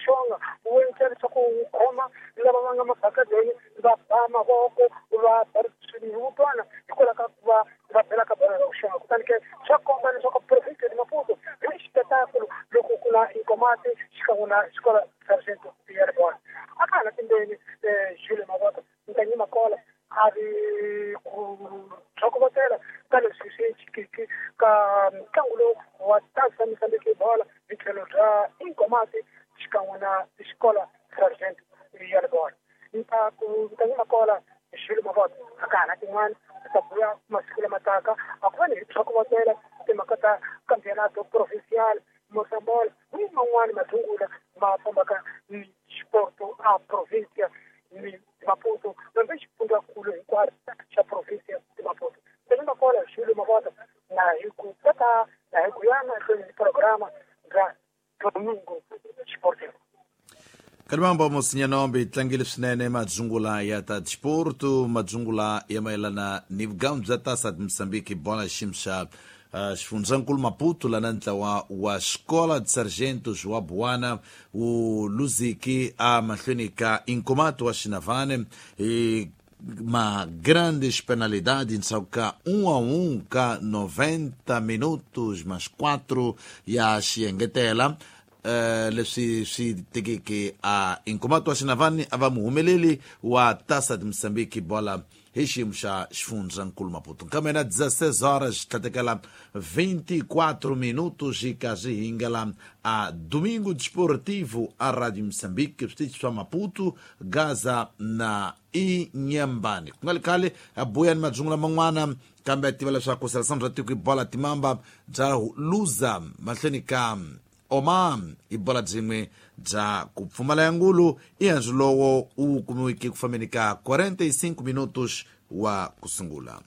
xonga wu endla leswaku wu khoma lava va nga mabakadeni va ba mavoko va ba swinhutwana hikwalaho ka ku va va bela ka bolo ra ku xonga. Kutani ke swa komba leswaku province de Maputo hi xipetakulu loko ku na Inkomati xikan'we na xikolo Sargento ya Ribona. A ka ha na timbeni Jules Mavota Nkanyi Makola a ri ku tlhokovotela ka leswi swi chikiki ka ntlangu lowu wa Tasa Mozambique bola hi tlhelo bya Inkomati xikan'we na xikolo Sargento ya Ribona. Nta ku Nkanyi Makola Jules Mavota a ka ha na tin'wana ta buya masiku lama taka a ku va ni hi tlhokovotela timhaka ta campeonato provincial Mosambola ni man'wani mathungula ma fambaka ni xipoto a provincia ni Maputo nambe xifundzankulu hinkwaro xa province ya Maputo. Nkanyi Makola Jules Mavota na hi ku kota na hi ku ya mahlweni ni programa bya Domingo Sportivo. Kalimambo Mosinyanombe tlangile swinene madzungula ya ta disporto, madzungula ya mayelana ni vugamu bya Taça de Moçambique bola xiyimo xa xifundzankulu Maputo lana ntlawa wa Escola de Sargentos wa Buana wu luziki a mahlweni ka Inkomato wa Xinavane hi ma grandes penalidades ndzhaku ka 1-1 ka 90 minutos mas 4 ya xiengetela. Leswi swi tekeke a Inkomato wa Xinavani a va muhumeleli wa Taça de Moçambique bola hi xiyimo xa xifundzankulu Maputo. Kambe na 16 horas tlhatekela 24 minutos hi karhi hi ngela a Domingo Desportivo a Radio Moçambique switichi swa Maputo, Gaza na Inhambane. Ku nga li khale a buya ni madzungula man'wana, kambe a tiva leswaku seleção bya tiko hi bola timamba bya luza mahlweni ka Oman hi bola byin'we bya ku pfumala ya ngulu i handzu lowo wu kumiweke ku fambeni ka 45 minutos wa ku sungula.